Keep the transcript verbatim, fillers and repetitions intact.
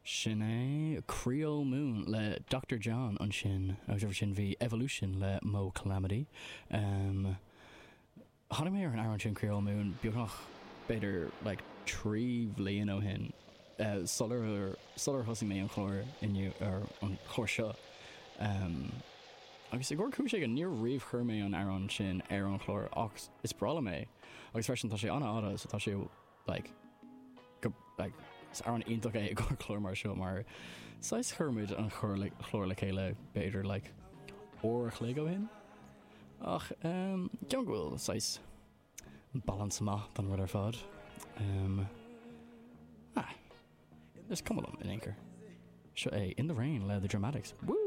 Sin é Creole Moon le Doctor John ansin agus roimhe sin bhí Evolution le Mo Calamity. Um, Tháinig mé ar an amhrán sin Creole Moon beagnach b'fhéidir like, trí bhliain ó shin uh, sular sular thosaigh mé an chlár inniu ar an chlár seo. Um, agus i gcóir cúis éigin níor riamh chuir mé an amhrán sin ar an chlár ach is breá liom é agus freisin tá sé an-fhada so tá sé like, go like, is amhrán iontach é i gcomhair clár mar seo mar saghas chuir muid an chlár le chlár le chéile b'fhéidir like, uair a chloig ó shin. Ach um, ceann go bhfuil saghas balance maith don rud ar fad. Um, ah, is cuma liom in aon chor. Seo é In the Rain le The Dramatics. Woo!